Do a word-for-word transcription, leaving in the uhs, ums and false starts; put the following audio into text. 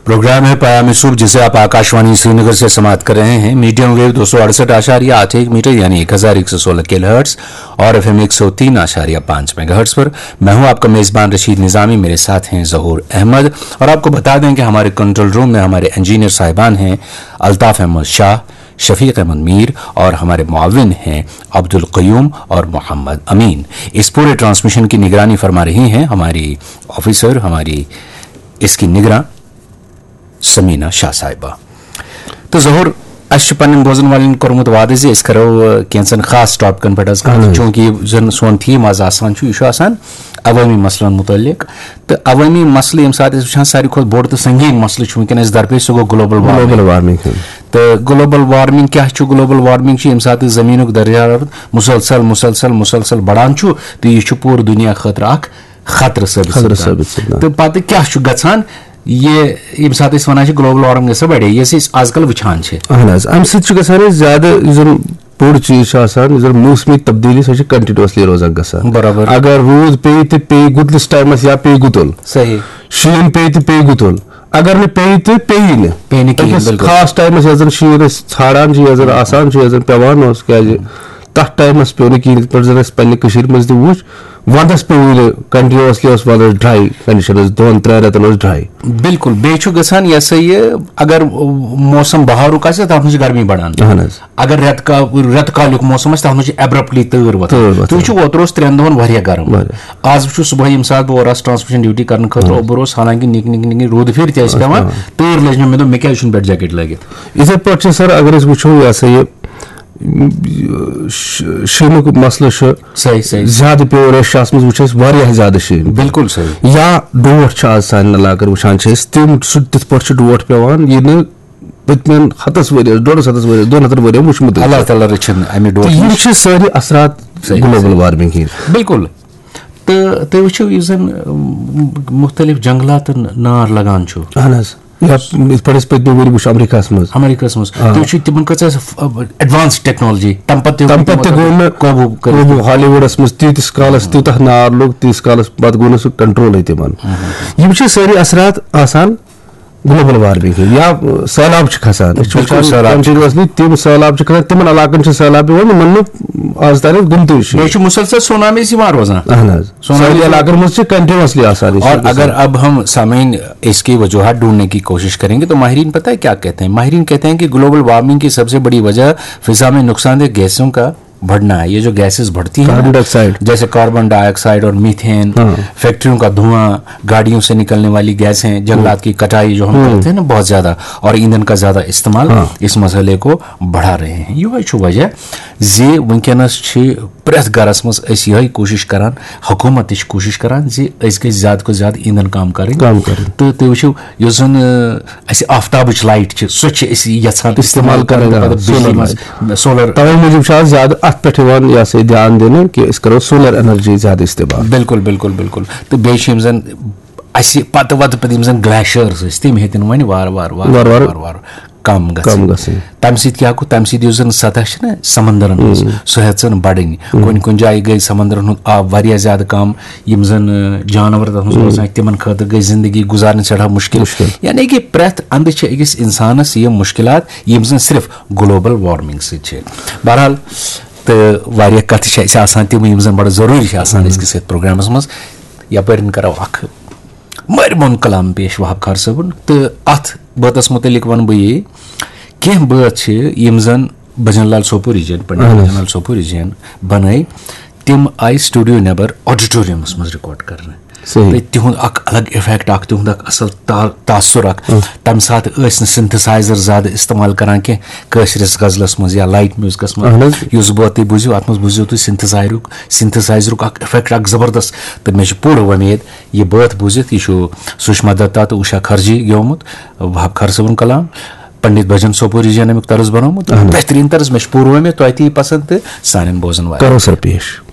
Programme है पयाम सुबह, जिसे आप आकाशवाणी श्रीनगर से समाप्त कर रहे हैं मीडियम वेव दो सौ अड़सठ आशारिया आठ एक मीटर यानी एक हजार एक सौ सोलह किलोहर्ट्ज और एफ एम एक सौ तीन आशारिया पाँच मेगाहर्ट्ज पर। मैं हूं आपका मेजबान रशीद निजामी, मेरे साथ हैं जहूर अहमद। और आपको बता दें कि हमारे कंट्रोल रूम में हमारे इंजीनियर साहिबान हैं अल्ताफ अहमद शाह, शफीक अहमद मीर और हमारे मुआविन हैं अब्दुल कयूम और मोहम्मद अमीन। इस पूरे ट्रांसमिशन की निगरानी फरमा रही हैं हमारी ऑफिसर, हमारी इसकी निगरान سمیٖنا شاہ صاحبہ۔ تہٕ ظہور، اَسہِ چھُ پننٮ۪ن بوزن والٮ۪ن کوٚرمُت وعدٕ زِ أسۍ کرو، آ، کینٛژن خاص ٹاپکن پٮ۪ٹھ حظ کتھ۔ اہن حظ۔ چوٗنٛکہِ یُس زن سون تھیم آز آسان چھُ، یہِ چھُ آسان عوٲمی مسلن مُتعلق۔ تہٕ عوٲمی مسلہٕ ییٚمہِ ساتہٕ أسۍ وٕچھان، ساروی کھۄتہٕ بوٚڑ تہٕ سنگیٖن مسلہٕ چھُ وٕنکیٚن اَسہِ درپیش، سُہ گوٚو گلوبل وارمنگ۔ Global warming. تہٕ گلوبل وارمنگ کیٛاہ چھُ؟ گلوبل وارمنگ چھُ ییٚمہِ ساتہٕ زٔمیٖنُک درجہ حرارت مسلسل، مسلسل، مسلسل بڑان چھُ، تہٕ یہِ چھُ پوٗرٕ دُنیا خٲطرٕ اکھ خطرٕ ثٲبت خطرٕ سپدان۔ ثٲبت سپدان۔ تہٕ پتہٕ کیٛاہ چھُ گژھان؟ یہِ، ییٚمہِ ساتہٕ أسۍ وَنان چھِ گلوبل وارمنگ گژھِ بڑے، یۄس أسۍ آز کل وٕچھان چھِ۔ اہن حظ، اَمہِ سۭتۍ چھُ گژھان اَسہِ زیادٕ، یُس زَن بوٚڑ چیٖز چھُ آسان، یُس زَن موسمی تبدیٖلی، سۄ چھِ continuously روزان گژھان۔ برابر۔ اگر روٗد پیٚیہِ تہٕ پیٚیہِ گُتلِس ٹایمَس یا پیٚیہِ گُتُل۔ صحیح۔ شیٖن پیٚیہِ تہٕ پیٚیہِ گُتُل۔ اگر نہٕ پیٚیہِ تہٕ پیٚیہِ نہٕ۔ پیٚیہِ نہٕ کِہیٖنۍ، أکِس بِلکُل۔ خاص ٹایمَس یَتھ زَن شیٖن أسۍ ژھانڈان چھِ، یَتھ زَن آسان چھُ، یَتھ زَن پٮ۪وان اوس، کیٛازِ تَتھ ٹایمَس پیوٚو نہٕ کِہیٖنۍ، یِتھ پٲٹھۍ زَن اَسہِ پنٛنہِ کٔشیٖرِ منٛز تہِ وُچھ، وَندَس پیوٚو یہِ continuously اوس وَندَس dry conditions، دۄن ترٛٮ۪ن رٮ۪تَن اوس dry۔ بِلکُل، بیٚیہِ چھُ گژھان یہِ ہسا یہِ، اگر موسم بہارُک آسہِ، تَتھ منٛز چھِ گرمی بڑان۔ اہن حظ۔ اگر رٮ۪تہٕ کا-، رٮ۪تہٕ کالیُک موسم آسہِ، تَتھ منٛز چھِ abruptly تۭر وۄتھان۔ تۭر وۄتھان۔ تُہۍ وٕچھِو، اوترٕ اوس ترٛٮ۪ن دۄہَن واریاہ گرم۔ واریاہ۔ آز وٕچھِو، صُبحٲے ییٚمہِ ساتہٕ بہٕ اورٕ آس ٹرانسمیشن ڈیوٹی کرنہٕ خٲطرٕ اہن حظ۔ اوٚبُر اوس، حالانکہ نِکۍ نِکۍ نِکۍ نِکۍ روٗدٕ پھِرۍ تہِ ٲسۍ اوس پٮ۪وان، پٮ۪وان۔ تۭر لٔج مےٚ، مےٚ دوٚپ، مےٚ کیٛازِ چھُنہٕ پٮ۪ٹھ جیکٹ لٲگِتھ؟ یِتھَے پٲٹھۍ چھِ سر، اگر أسۍ وٕچھو، یہِ ہسا یہِ، ش-، شیٖنُک مسلہٕ چھُ۔ صحیح، صحیح۔ زیادٕ پیوٚو ریشیاہَس منٛز وٕچھ اَسہِ واریاہ زیادٕ شیٖن۔ بِلکُل صحیح۔ یا ڈوٹھ چھِ آز سانٮ۪ن علاقَن وٕچھان چھِ أسۍ، تِم سُہ تِتھ پٲٹھۍ چھِ ڈوٹھ پیوان، یہِ نہٕ پٔتمٮ۪ن ہَتَس ؤریَس، ڈۄڈَس ہَتَس ؤریَس، دۄن ہَتَن ؤریَن وٕچھمُتٕے چھُ۔ اللہ تعالیٰ رٔچھِنۍ اَمہِ ڈوٹھٕ تہٕ یِم نِش۔ چھِ سٲری اثرات صحیح، گلوبل صحیح۔ وارمنگ ہِنٛدۍ۔ بِلکُل۔ تہٕ تُہۍ وٕچھِو، یُس زَن، اَم، مُختٔلِف جنٛگلاتَن نار لگان چھُ۔ اہن حظ۔ یا یِتھ پٲٹھۍ اَسہِ پٔتمہِ ؤری وٕچھ امریکہس منٛز۔ امریکہس منٛز۔ آ۔ تُہۍ وٕچھِو، تِمن کۭژاہ ایڈوانس ٹیکنالوجی، تَمہِ پتہٕ تہِ تَمہِ پتہٕ تہِ گوٚو نہٕ قوبوٗ کٔرِتھ۔ قوبوٗ ہالی وُڈس منٛز تیٖتِس کالس، تیوٗتاہ نار لوٚگ، تیٖتِس کالس پتہٕ گوٚو نہٕ سُہ کنٹرولٕے تِمن۔ یِم چھِ سٲری اثرات آسان گلوبل وارمنگ ہٕنٛدۍ۔ یا سہلاب چھِ کھسان، أسۍ چھِ بِلکُل وٕچھان سہلاب چھِ continuously تِم سہلاب چھِ کھسان، تِمن علاقن چھِ سہلاب یِوان، یِمن نہٕ آز تانٮ۪تھ گوٚمتُے چھُ۔ بیٚیہِ چھِ مسلسل سونامیز یِوان روزان۔ اہن حظ۔ سونامی سٲنۍ علاقن منٛز چھِ continuously آسان یہِ اور چیٖز اگر گژھان۔ اب ہم سامعین اس کی وجوہات ڈھونڈنے کی کوشش کریں گے تو ماہرین پتہ ہے کیا کہتے ہیں؟ ماہرین کہتے ہیں کہ گلوبل وارمنگ کی سب سے بڑی وجہ فضا میں نقصان دہ گیسوں کا بڑھنا ہے۔ یہ جو گیسز بڑھتی ہیں نا، کاربن ڈائی آکسائیڈ۔ جیسے کاربن ڈائی آکسائیڈ اور میتھین، ہاں۔ فیکٹریوں کا دھواں، گاڑیوں سے نکلنے والی گیسیں، جنگلات کی کٹائی جو ہم کرتے ہیں نا بہت زیادہ، اور ایندھن کا زیادہ استعمال ہاں۔ اس مسئلے کو بڑھا رہے ہیں۔ یہ وجہ زِ وٕنکیٚنَس چھِ پرٛٮ۪تھ گَرَس منٛز أسۍ یِہوٚے کوٗشِش کَران، حکوٗمت تہِ چھِ کوٗشِش کَران زِ أسۍ گٔژھۍ زیادٕ کھۄتہٕ زیادٕ ایٖندھن کَم کَرٕنۍ۔ کَم کَرٕنۍ۔ تہٕ تُہۍ وٕچھِو، یُس زَن، آ، اَسہِ آفتابٕچ لایٹ چھِ، سۄ چھِ أسۍ یَژھان استعمال اِستعمال کَرٕنۍ، کَرٕنۍ آ، پَتہٕ بِجلی سولر منٛز، لایٹ۔ سولر۔ تَوَے موٗجوٗب چھُ آز زیادٕ اَتھ پٮ۪ٹھ یِوان، یہِ ہسا یہِ، دھیان دِنہٕ کہِ أسۍ کَرو سولر انرجی زیادٕ استعمال۔ بِلکُل، بِلکُل، بِلکُل۔ تہٕ بیٚیہِ چھِ یِم زَن اَسہِ پَتہٕ وَتہٕ پَتہٕ یِم زَن گلیشیٲرٕس ٲسۍ، تِم ہیٚتِنۍ وۄنۍ وارٕ وارٕ، وارٕ وارٕ وارٕ۔ وارٕ وارٕ کَم گژھٕنۍ۔ کَم گژھٕنۍ۔ تَمہِ سۭتۍ کیٛاہ گوٚو؟ تَمہِ سۭتۍ یُس زَن سطح چھِ نہ سَمندرَن ہٕنٛز، ہُم۔ سۄ ہیٚژٕن بَڑٕنۍ۔ ہُم۔ کُنہِ کُنہِ جایہِ گٔے سَمندرَن ہُنٛد آب واریاہ زیادٕ کَم، یِم زَن، ٲں، جانوَر تَتھ منٛز ہُم۔ روزان چھِ، تِمَن خٲطرٕ گٔے زِندگی گُزارٕنۍ سٮ۪ٹھاہ مُشکِل۔ مُشکِل۔ یعنی کہِ پرٛٮ۪تھ اَندٕ چھِ أکِس اِنسانَس یِم مُشکِلات، یِم زَن صرف گلوبل وارمنگ سۭتۍ چھِ۔ بہرحال، تہٕ واریاہ کَتھٕ چھِ اَسہِ آسان تِم، یِم زَن بَڑٕ ضروٗری چھِ آسان ہُم۔ أزکِس یَتھ پروگرامَس منٛز۔ یَپٲرۍ کَرو اَکھ مٲرۍ مۄن کلام پیش وہاب خار صٲبُن، تہٕ اَتھ بٲتَس مُتعلِق وَنہٕ بہٕ یی، کینٛہہ بٲتھ چھِ یِم زَن بھجن لال سوپوری جی یَن، پنڈت اہن حظ۔ بھجن لال سوپوری جی یَن بَنٲے، تِم آیہِ studio نٮ۪بر auditoriumس منٛز record کرنہٕ۔ صحیح۔ تہٕ تِہُنٛد اَکھ الگ effect اَکھ، تِہُنٛد اَکھ اَصٕل تا-، تاثر اَکھ۔ اہن۔ تَمہِ ساتہٕ ٲسۍ نہٕ synthesizer زیادٕ استعمال کران کینٛہہ کٲشرِس غزلَس منٛز یا light musicس منٛز۔ اہن حظ۔ یُس بٲتھ تُہۍ بوٗزِو، اَتھ منٛز بوٗزِو تُہۍ synthesizerُک، synthesizerُک اَکھ effect اَکھ زبردست۔ تہٕ مےٚ چھِ پوٗرٕ وۄمید، یہِ بٲتھ بوٗزِتھ، یہِ چھُ سُشما دتا تہٕ اوشا کھرجی گیومُت، وہاب خار صٲبُن کلام، پنڈت بھجن سوپوری جی یَن اَمیُک طرز بنوومُت۔ اہن حظ۔ بہتریٖن طرز، مےٚ چھِ پوٗرٕ وۄمید تۄہہِ تہِ یی پسنٛد تہٕ سانٮ۪ن بوزن والٮ۪ن۔ کرو سر پیش۔